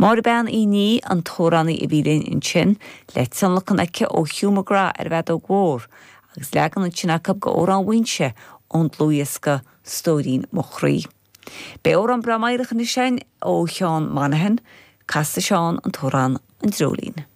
Máire Bean Uí Ní an t-amhránaí a bhí linn ansin, le tionlacan aici ó Hugh McGrath ar an bhfeadóg mhór, agus leagan ansin acu de Amhrán Mhaínse ón dlúthdhiosca Stóirín Mo Chroí. Beidh amhrán breá meidhreach anois againn ó Sheán Monaghan, casfaidh Seán an t-amhrán An Dreoilín.